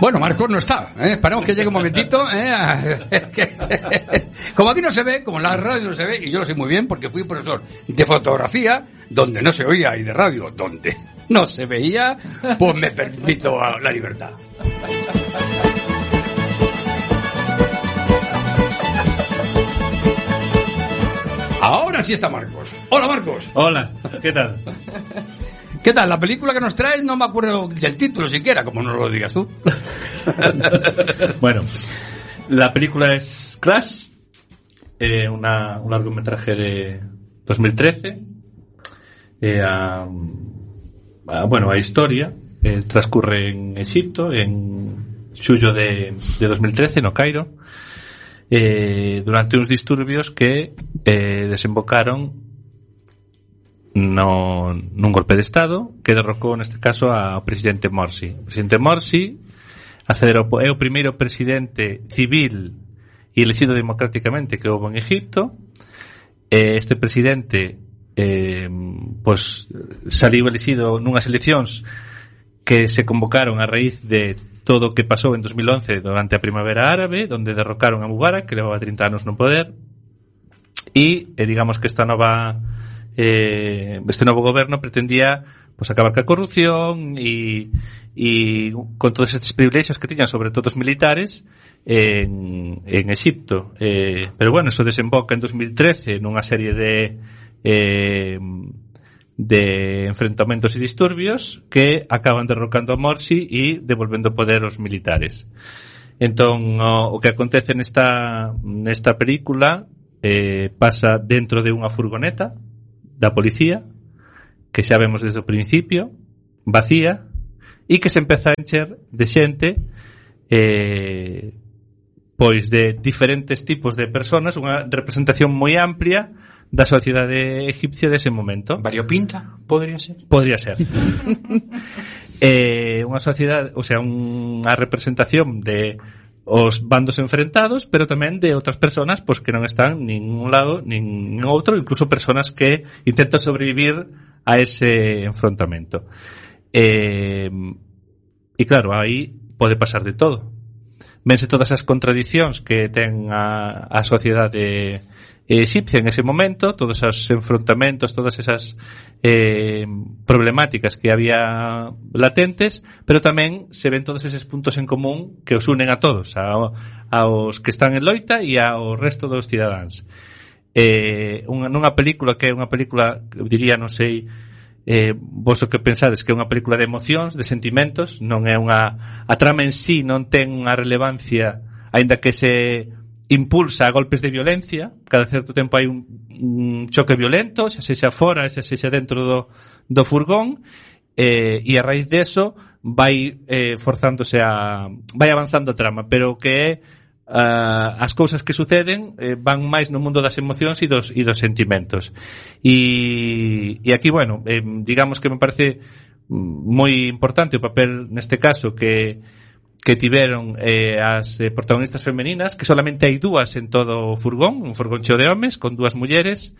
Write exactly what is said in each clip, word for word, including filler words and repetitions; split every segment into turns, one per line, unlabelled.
Bueno, Marcos no está, ¿eh? Esperamos que llegue un momentito, ¿eh? Como aquí no se ve, como en la radio no se ve, y yo lo sé muy bien porque fui profesor de fotografía donde no se oía y de radio donde no se veía, pues me permito la libertad. Ahora sí está Marcos. Hola, Marcos.
Hola, ¿qué tal?
¿Qué tal? La película que nos traes no me acuerdo del título siquiera, como no lo digas tú.
Bueno, la película es Crash, eh, una, un largometraje de dos mil trece. Eh, a, a, bueno, a historia eh, transcurre en Egipto, en xullo de, de dos mil trece, no Cairo, eh, durante uns disturbios que eh, desembocaron no nun golpe de estado que derrocou neste caso ao presidente Morsi. O presidente Morsi accedeu, é o primeiro presidente civil e elegido democráticamente que houve en Egipto. Este presidente eh, pues, saliu elegido nunhas eleccións que se convocaron a raíz de todo o que pasou en dos mil once durante a Primavera Árabe, donde derrocaron a Mubarak, que levaba trinta anos no poder, e eh, digamos que esta nova Eh, este novo goberno pretendía pues, acabar ca corrupción e, e con todos estes privilexios que tiñan, sobre todo os militares en, en Egipto, eh, pero bueno, eso desemboca en dos mil trece nunha serie de eh, de enfrentamentos e disturbios que acaban derrocando a Morsi e devolvendo poder aos militares. Entón o, o que acontece nesta, nesta película eh, pasa dentro de unha furgoneta da policía, que xa vemos desde o principio, vacía, e que se empeza a encher de xente eh, pois de diferentes tipos de personas, unha representación moi amplia da sociedade egipcia dese momento.
Variopinta, podría ser?
Podría ser. eh, unha sociedade, o sea, unha representación de os bandos enfrentados, pero tamén de outras personas pois que non están nin un lado nin outro, incluso personas que intentan sobrevivir a ese enfrontamento. Eh, e claro, aí pode pasar de todo. Vense todas as contradicións que ten a, a sociedade egipcia en ese momento, todos os enfrontamentos, todas esas eh, problemáticas que había latentes, pero tamén se ven todos eses puntos en común que os unen a todos, a, aos que están en loita e ao resto dos cidadáns. Eh, unha, nunha película que é unha película, diría, non sei eh, vos o que pensades, que é unha película de emocións, de sentimentos, non é unha, a trama en sí non ten unha relevancia, aínda que se impulsa a golpes de violencia, cada certo tempo hai un, un choque violento, xa sexa fora, xa sexa dentro do, do furgón, eh, e a raíz de eso vai eh, forzándose a vai avanzando a trama, pero que é uh, as cousas que suceden eh, van máis no mundo das emocións e dos, e dos sentimentos. E, e aquí, bueno, eh, digamos que me parece moi importante o papel neste caso que que tiveron eh, as eh, protagonistas femeninas, que solamente hai dúas en todo o furgón, un furgón cheo de homes con dúas mulleres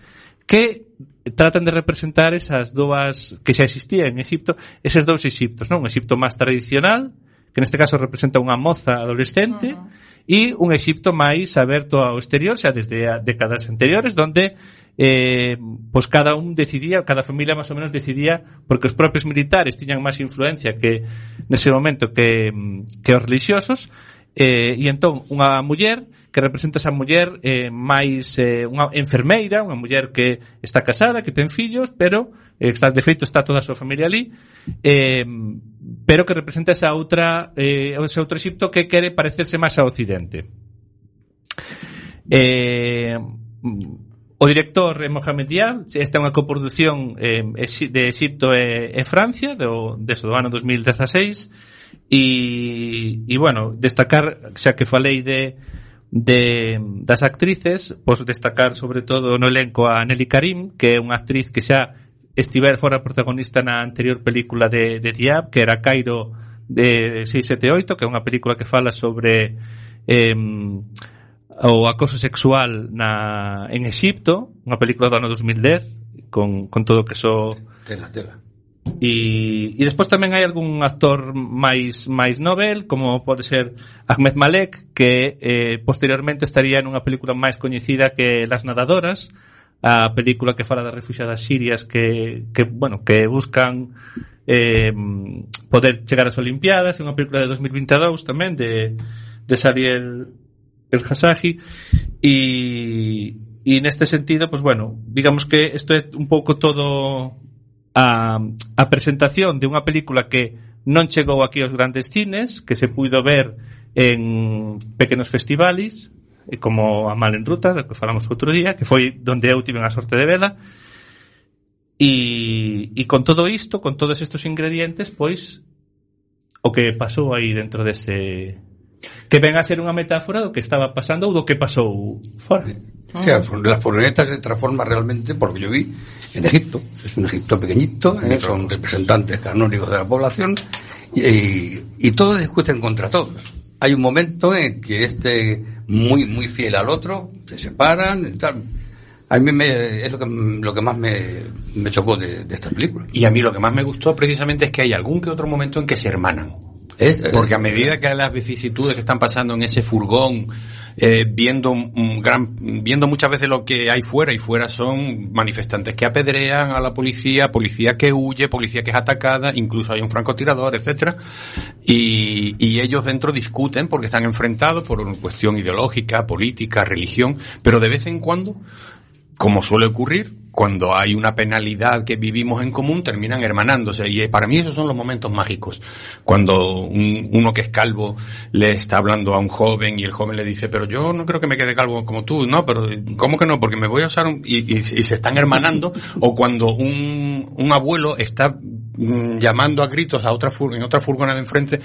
que tratan de representar esas dúas que xa existían en Egipto, eses dous Egiptos, non? Un Egipto máis tradicional, que neste caso representa unha moza adolescente, uh-huh. e un Egipto máis aberto ao exterior, xa desde a décadas anteriores, donde eh, pues cada un decidía, cada familia máis ou menos decidía, porque os propios militares tiñan máis influencia que nese momento que, que os religiosos, eh, e entón unha muller que representa esa muller eh, máis eh, unha enfermeira, unha muller que está casada, que ten fillos, pero eh, está, de feito está toda a súa familia ali, eh, pero que representa esa outra eh, ese outro Egipto que quere parecerse máis ao Occidente. Eh, o director é Mohamed Diab. Esta é unha coproducción eh, de Egipto e, e Francia do, desde o ano dos mil dezasseis, e, e bueno, destacar, xa que falei de de das actrices, pois destacar sobre todo no elenco a Nelly Karim, que é unha actriz que xa estiver fora protagonista na anterior película de, de Diab, que era Cairo de seis sete oito, que é unha película que fala sobre eh, o acoso sexual na, en Egipto, unha película do ano dos mil dez con, con todo o que so
tela, tela
E, e despois tamén hai algún actor máis máis novel, como pode ser Ahmed Malek, que eh, posteriormente estaría nunha película máis coñecida que Las Nadadoras, a película que fala das refugiadas sirias que, que bueno, que buscan eh, poder chegar ás Olimpiadas, é unha película de dos mil veintidós tamén de, de Sariel El Hassagi, e, e neste sentido, pues bueno, digamos que isto é un pouco todo a, a presentación de unha película que non chegou aquí aos grandes cines, que se puido ver en pequenos festivales, como a Mal en Ruta, do que falamos outro día, que foi donde eu tive a sorte de vela, e, e con todo isto, con todos estes ingredientes, pois o que pasou aí dentro dese, que ven a ser unha metáfora do que estaba pasando ou do que pasou fora.
O sea, la furgoneta se transforma realmente, por lo que yo vi, en Egipto. Es un Egipto pequeñito, ¿eh? Son representantes canónicos de la población y, y todos discuten contra todos. Hay un momento en que este, muy muy fiel al otro, se separan y tal. A mí me, es lo que, lo que más me, me chocó de, de esta película.
Y a mí lo que más me gustó precisamente es que hay algún que otro momento en que se hermanan.
Es,
Porque a medida que las vicisitudes que están pasando en ese furgón, eh, viendo un gran, viendo muchas veces lo que hay fuera, y fuera son manifestantes que apedrean a la policía, policía que huye, policía que es atacada, incluso hay un francotirador, etcétera, y, y ellos dentro discuten porque están enfrentados por una cuestión ideológica, política, religión, pero de vez en cuando, como suele ocurrir, cuando hay una penalidad que vivimos en común, terminan hermanándose. Y para mí esos son los momentos mágicos. Cuando un, uno que es calvo le está hablando a un joven y el joven le dice, pero yo no creo que me quede calvo como tú. No, pero ¿cómo que no? Porque me voy a usar un... Y, y, y se están hermanando. O cuando un, un abuelo está mm, llamando a gritos a otra fur, en otra furgoneta de enfrente,